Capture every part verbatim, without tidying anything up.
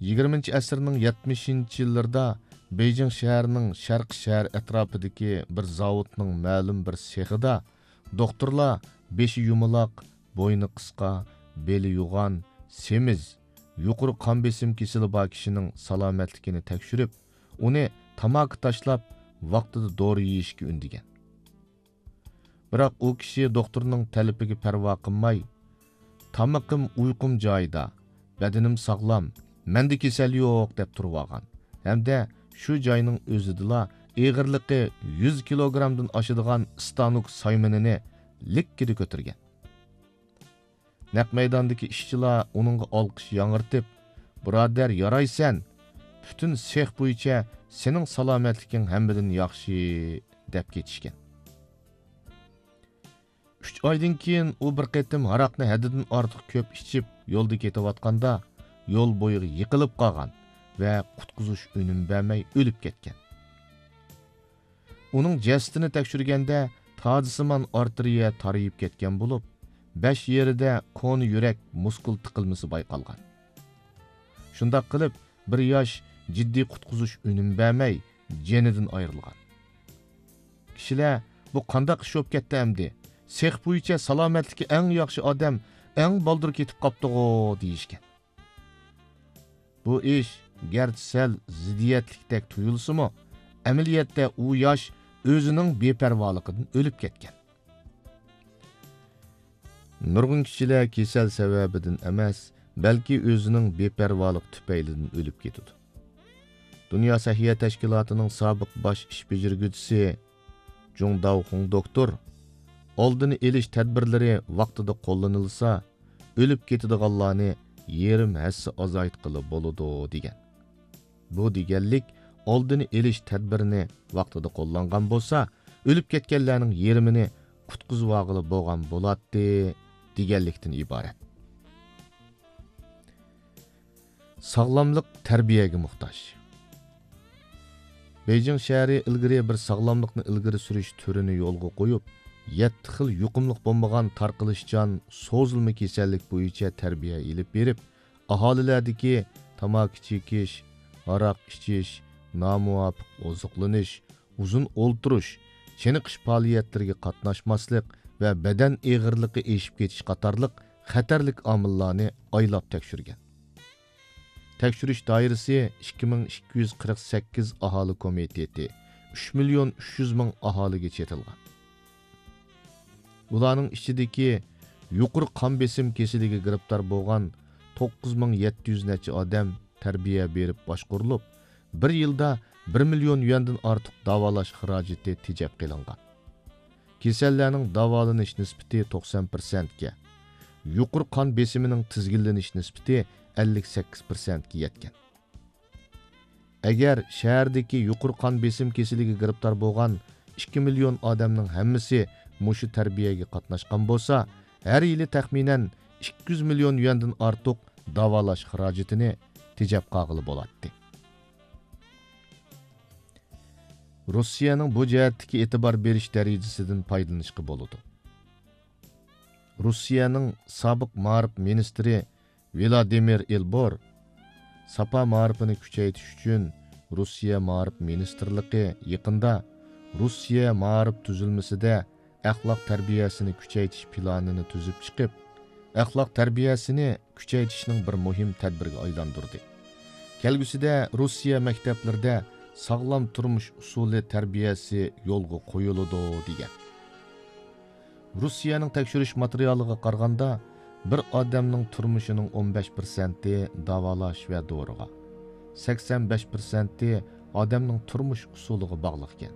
يىگىرمىنچى ئەسىرنىڭ يەتمىشىنچى يىللىرىدا بېيجىڭ شەھىرىنىڭ شەرقىي شەھەر ئەتراپىدىكى بىر زاۋۇتنىڭ مەلۇم بىر سېخىدا دوختۇرلار بېشى يۇمىلاق، بوينى قىسقا، بېلى يوغان، سېمىز، يۇقىرى قان بېسىم كېسىلى بار كىشىنىڭ سالامەتلىكىنى تەكشۈرۈپ، ئۇنى تاماكا تاشلاپ، ۋاقتىدا دورا يېيىشكە ئۈندىگەن. بىراق ئۇ كىشى دوختۇرنىڭ تەلىپىگە پەرۋا قىلماي، تامىقىم، ئۇيقۇم جايىدا، بەدىنىم ساغلام، مەندە كېسەل يوق دەپ تۇرۇۋالغان ھەمدە شۇ جاينىڭ ئۆزىدىلا ئېغىرلىقى يۈز كىلوگرامدىن ئاشىدىغان ئىستانوك سايمىنىنى لىككىدە كۆتۈرگەن. نەق مەيداندىكى ئىشچىلار ئۇنىڭغا ئالقىش ياڭرىتىپ، بۇرادەر، يارايسەن! پۈتۈن سېخ بويىچە سېنىڭ سالامەتلىكىڭ ھەممىدىن ياخشى، دەپ كېتىشكەن. ئۈچ ئايدىن كېيىن ئۇ بىر قېتىم ھاراقنى ھەددىدىن ئارتۇق كۆپ ئىچىپ، يولدا كېتىۋاتقاندا، يول بويىغا يىقىلىپ قالغان ۋە قۇتقۇزۇش ئۈنۈم بەرمەي ئۆلۈپ كەتكەن. ئۇنىڭ جەسىتىنى تەكشۈرگەندە، تازىسىمان ئارتېرىيە تارىيىپ كەتكەن بولۇپ، بەش يېرىدە كونا يۈرەك مۇسكۇل تىقىلمىسى بايقالغان. شۇنداق قىلىپ، بىر ياش جىددىي قۇتقۇزۇش ئۈنۈم بەرمەي، جېنىدىن ئايرىلغان. كىشىلەر، بۇ قانداق ئىش بولۇپ كەتتى ئەمدى؟ سېخ بويىچە سالامەتلىكى ئەڭ ياخشى ئادەم ئەڭ بالدۇر كېتىپ قاپتىغۇ، دېيىشكەن. بۇ ئىش گەرچە سەل زىددىيەتلىكتەك تۇيۇلسىمۇ، ئەمەلىيەتتە ئۇ ياش ئۆزىنىڭ بىپەرۋالىقىدىن ئۆلۈپ كەتكەن. نۇرغۇن كىشىلەر كېسەل سەۋەبىدىن ئەمەس، بەلكى ئۆزىنىڭ بىپەرۋالىقى تۈپەيلىدىن ئۆلۈپ كېتىدۇ. دۇنيا سەھىيە تەشكىلاتىنىڭ سابىق باش ئىش بېجىرگۈچىسى جۇڭ داۋخۇڭ دوكتور، ئالدىنى ئېلىش تەدبىرلىرى ۋاقتىدا قوللىنىلسا، ئۆلۈپ كېتىدىغانلارنى يېرىم ھەسسە ئازايتقىلى بولىدۇ، دېگەن. بۇ دېگەنلىك، ئالدىنى ئېلىش تەدبىرىنى ۋاقتىدا قوللانغان بولسا، ئۆلۈپ كەتكەنلەرنىڭ يېرىمىنى قۇتقۇزۇۋالغىلى بولغان بولاتتى، دېگەنلىكتىن ئىبارەت. ساغلاملىق تەربىيەگە موھتاج. بېيجىڭ شەھىرى ئىلگىرى بىر ساغلاملىقنى ئىلگىرى سۈرۈش تۈرىنى يولغا قويۇپ، يەتتە خىل يۇقۇملۇق بولمىغان تارقىلىشچان سوزۇلما كېسەللىك بويىچە تەربىيە ئېلىپ بېرىپ، ئاھالىلەردىكى تاماكا چېكىش، ھاراق ئىچىش، نامۇۋاپىق ئوزۇقلىنىش، ئۇزۇن ئولتۇرۇش، چېنىقىش پائالىيەتلىرىگە قاتناشماسلىق ۋە بەدەن ئېغىرلىقى ئېشىپ كېتىش قاتارلىق خەتەرلىك ئامىللارنى ئايلاپ تەكشۈرگەن. تەكشۈرۈش دائىرىسى ئىككى مىڭ ئىككى يۈز قىرىق سەككىز ئاھالە كومىتېتى، ئۈچ مىليون ئۈچ يۈز مىڭ ئاھالىگە چېتىلغان. ئۇلارنىڭ ئىچىدىكى يۇقىرى قان بېسىم كېسىلىگە گىرىپتار بولغان توققۇز مىڭ يەتتە يۈز نەچچە ئادەم تەربىيە بېرىپ باشقۇرۇلۇپ، بىر يىلدا بىر مىليون يۈەندىن ئارتۇق داۋالاش خىراجىتى تېجەپ قېلىنغان. كېسەللەرنىڭ داۋالىنىش نىسبىتى توقسان پىرسەنتكە، يۇقىرى قان بېسىمىنىڭ تىزگىنلىنىش نىسبىتى ئەللىك سەككىز پىرسەنتكە يەتكەن. ئەگەر شەھەردىكى يۇقىرى قان بېسىم كېسىلىگە گىرىپتار بولغان ئىككى مىليون ئادەمنىڭ ھەممىسى مۇشۇ تەربىيەگە قاتناشقان بولسا، ھەر يىلى تەخمىنەن ئىككى يۈز مىليون يۈەندىن ئارتۇق داۋالاش خىراجىتىنى تېجەپ قالغىلى بولاتتى. روسىيەنىڭ بۇ جەھەتتىكى ئېتىبار بېرىش دەرىجىسىدىن پايدىلىنىشقا بولىدۇ. روسىيەنىڭ سابىق مائارىپ مىنىستىرى ۋلادىمىر ئېلبور ساپا مائارىپىنى كۈچەيتىش ئۈچۈن روسىيە مائارىپ مىنىستىرلىقى يېقىندا روسىيە مائارىپ تۈزۈلمىسىدە ئەخلاق تەربىيەسىنى كۈچەيتىش پىلانىنى تۈزۈپ چىقىپ، ئەخلاق تەربىيەسىنى كۈچەيتىشنىڭ بىر مۇھىم تەدبىرىگە ئايلاندۇردى. كەلگۈسىدە روسىيە مەكتەپلىرىدە ساغلام تۇرمۇش ئۇسۇلى تەربىيەسى يولغا قويۇلىدۇ، دېگەن. روسىيەنىڭ تەكشۈرۈش ماتېرىيالىغا قارىغاندا، بىر ئادەمنىڭ تۇرمۇشىنىڭ ئون بەش پىرسەنتى داۋالاش ۋە دورىغا، سەكسەن بەش پىرسەنتى ئادەمنىڭ تۇرمۇش ئۇسۇلىغا باغلىقكەن.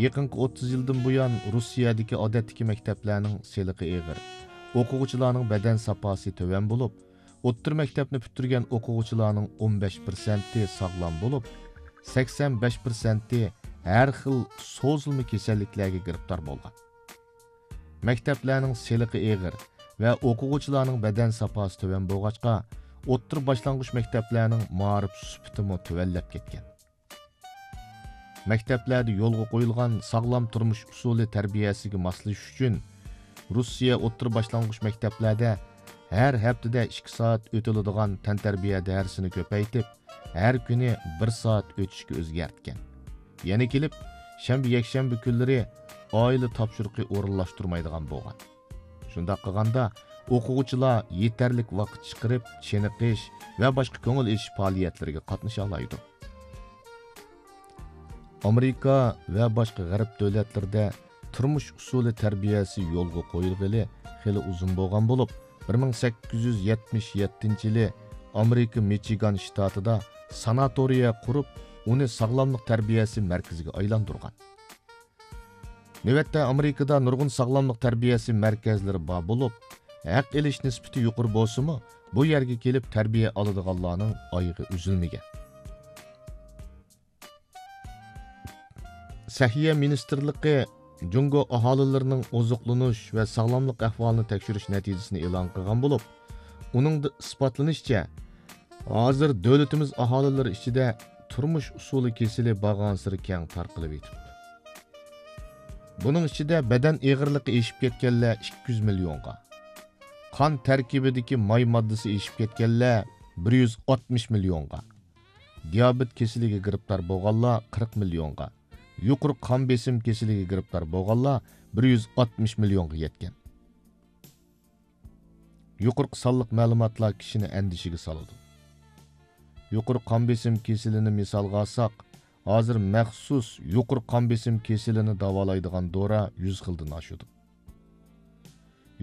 يېقىنقى ئوتتۇز يىلدىن بۇيان، روسىيەدىكى ئادەتتىكى مەكتەپلەرنىڭ سېلىقى ئېغىر، ئوقۇغۇچىلارنىڭ بەدەن ساپاسى تۆۋەن بولۇپ، ئوتتۇرا مەكتەپنى پۈتتۈرگەن ئوقۇغۇچىلارنىڭ ئون بەش پىرسەنتى ساغلام بولۇپ، سەكسەن بەش پىرسەنتى ھەر خىل سوزۇلما كېسەللىكلەرگە گىرىپتار بولغان. مەكتەپلەرنىڭ سېلىقى ئېغىر ۋە ئوقۇغۇچىلارنىڭ بەدەن ساپاسى تۆۋەن بولغاچقا، ئوتتۇرا باشلانغۇچ مەكتەپلەرنىڭ مائارىپ سۈپىتىمۇ تۆۋەنلەپ كەتكەن. مەكتەپلەردە يولغا قويۇلغان ساغلام تۇرمۇش ئۇسۇلى تەربىيەسىگە ماسلىشىش ئۈچۈن، روسىيە ئوتتۇرا باشلانغۇچ مەكتەپلەردە ھەر ھەپتىدە ئىككى سائەت ئۆتۈلىدىغان تەنتەربىيە دەرسىنى كۆپەيتىپ، ھەر كۈنى بىر سائەت ئۆتۈشكە ئۆزگەرتكەن. يەنە كېلىپ، شەنبە، يەكشەنبە كۈنلىرى ئائىلە تاپشۇرۇقى ئورۇنلاشتۇرمايدىغان بولغان. شۇنداق قىلغاندا، ئوقۇغۇچىلار يېتەرلىك ۋاقىت چىقىرىپ، چېنىقىش ۋە باشقا كۆڭۈل ئېچىش پائالىيەتلىرىگە قاتنىشالايدۇ. ئامېرىكا ۋە باشقا غەرب دۆلەتلىرىدە تۇرمۇش ئۇسۇلى تەربىيەسى يولغا قويۇلغىلى خېلى ئۇزۇن بولغان بولۇپ، بىر مىڭ سەككىز يۈز يەتمىش يەتتىنچى يىلى ئامېرىكا مىچىگان شتاتىدا ساناتورىيە قۇرۇپ، ئۇنى ساغلاملىق تەربىيەسى مەركىزىگە ئايلاندۇرغان. نۆۋەتتە ئامېرىكىدا نۇرغۇن ساغلاملىق تەربىيەسى مەركەزلىرى بار بولۇپ، ھەق ئېلىش نىسبىتى يۇقىرى بولسىمۇ، بۇ يەرگە كېلىپ تەربىيە ئالىدىغانلارنىڭ ئايىغى ئۈزۈلمىگەن. سەھىيە مىنىستىرلىقى جۇڭگو ئاھالىلىرىنىڭ ئوزۇقلىنىش ۋە ساغلاملىق ئەھۋالىنى تەكشۈرۈش نەتىجىسىنى ئېلان قىلغان بولۇپ، ئۇنىڭدا ئىسپاتلىنىشىچە، ھازىر دۆلىتىمىز ئاھالىلىرى ئىچىدە تۇرمۇش ئۇسۇلى كېسىلى بارغانسېرى كەڭ تارقىلىۋېتىپتۇ. بۇنىڭ ئىچىدە بەدەن ئېغىرلىقى ئېشىپ كەتكەنلەر ئىككى يۈز مىليونغا، قان تەركىبىدىكى ماي ماددىسى ئېشىپ كەتكەنلەر بىر يۈز ئاتمىش مىليونغا، دىيابېت كېسىلىگە گىرىپتار بولغانلار قىرىق مىليونغا، يۇقىرى قان بېسىم كېسىلىگە گىرىپتار بولغانلار بىر يۈز ئاتمىش مىليونغا يەتكەن. يۇقىرىقى سانلىق مەلۇماتلار كىشىنى ئەندىشىگە سالىدۇ. يۇقىرى قان بېسىم كېسىلىنى مىسالغا ئالساق، ھازىر مەخسۇس يۇقىرى قان بېسىم كېسىلىنى داۋالايدىغان دورا يۈز خىلدىن ئاشىدۇ.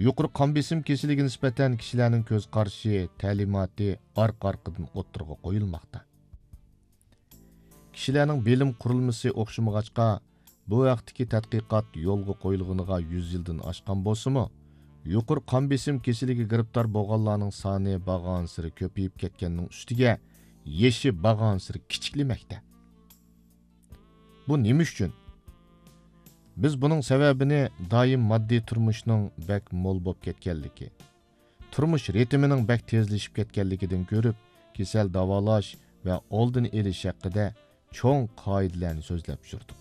يۇقىرى قان بېسىم كېسىلىگە نىسبەتەن كىشىلەرنىڭ كۆز قارىشى، تەلىماتى ئارقا-ئارقىدىن ئوتتۇرىغا قويۇلماقتا. كىشىلەرنىڭ بىلىم قۇرۇلمىسى ئوخشىمىغاچقا، بۇ ھەقتىكى تەتقىقات يولغا قويۇلغىنىغا يۈز يىلدىن ئاشقان بولسىمۇ، يۇقىرى قان بېسىم كېسىلىگە گىرىپتار بولغانلارنىڭ سانى بارغانسېرى كۆپىيىپ كەتكەننىڭ ئۈستىگە، يېشى بارغانسېرى كىچىكلىمەكتە. بۇ نېمە ئۈچۈن؟ بىز بۇنىڭ سەۋەبىنى دائىم ماددىي تۇرمۇشنىڭ بەك مول بولۇپ كەتكەنلىكى، تۇرمۇش رىتىمىنىڭ بەك تېزلىشىپ كەتكەنلىكىدىن كۆرۈپ، كېسەل داۋالاش ۋە ئالدىنى ئېلىش ھەققىدە چوڭ قائىدىلەرنى سۆزلەپ يۈردۇق.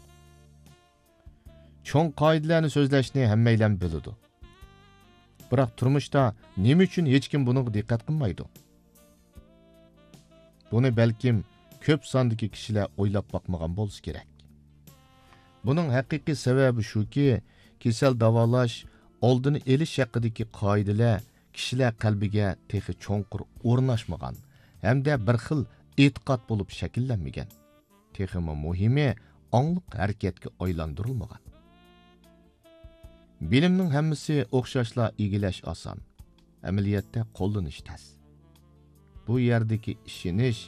چوڭ قائىدىلەرنى سۆزلەشنى ھەممەيلەن بىلىدۇ. بىراق تۇرمۇشتا نېمە ئۈچۈن ھېچكىم بۇنىڭغا دىققەت قىلمايدۇ؟ بۇنى بەلكىم كۆپ ساندىكى كىشىلەر ئويلاپ باقمىغان بولسا كېرەك. بۇنىڭ ھەقىقىي سەۋەبى شۇكى، كېسەل داۋالاش، ئالدىنى ئېلىش ھەققىدىكى قائىدىلەر كىشىلەر قەلبىگە تېخى چوڭقۇر ئورناشمىغان ھەمدە بىر خىل ئېتىقاد بولۇپ شەكىللەنمىگەن. تېخىمۇ مۇھىمى، ئاڭلىق ھەرىكەتكە ئايلاندۇرۇلمىغان. بىلىمنىڭ ھەممىسى ئوخشاشلا ئىگىلەش ئاسان، ئەمەلىيەتتە قوللىنىش تەس. بۇ يەردىكى ئىشىنىش